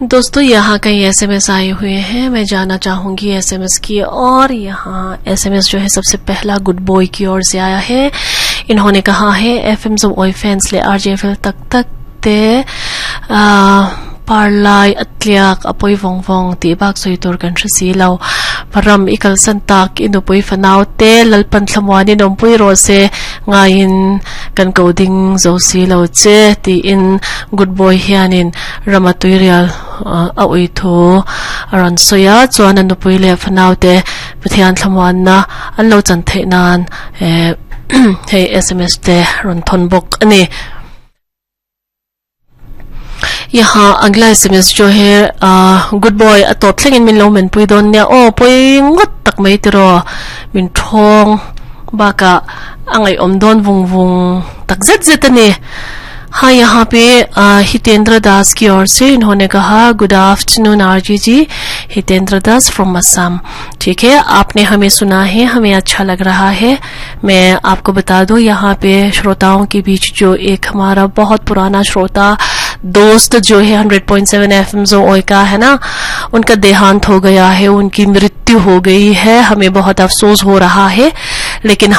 दोस्तों यहाँ कई एसएमएस आए हुए हैं मैं जाना चाहूंगी एसएमएस की और यहाँ एसएमएस जो है सबसे पहला गुड बॉय की ओर से आया है इन्होंने कहा है एफएम जो oi fans le RJFL tak tak te parlai atliak apoi vong vong ti bak soi tur kan hre si lo param ikal san tak inupui fanau te lalpan thlamuani nompui ro se ngaiin kan ko ding zo si lo che ti in good boy hianin rama tuirial a ui thu aran soya chuan an nupui le fanau te pathian thlamuan na an lo chan theih nan hei sms te ron thon bawk ani. यहाँ अगला एसएमएस जो है good boy atop thlengin min lo men pui don nia o pui ngot tak mai tiro min thong baka angai om don vung vung tak zet zet ani हाँ यहाँ पे हितेंद्र दास की ओर से इन्होंने कहा good afternoon RJ ji Hitendra Das from Assam ठीक है आपने हमें सुना है हमें अच्छा लग रहा है मैं आपको बता दूं यहाँ पे श्रोताओं के बीच जो एक हमारा बहुत पुराना श्रोता दोस्त जो है 100.7 एफएम जो ओय का है ना उनका देहांत हो गया है उनकी मृत्यु हो गई है हमें बहुत अफसोस हो रहा है लेकिन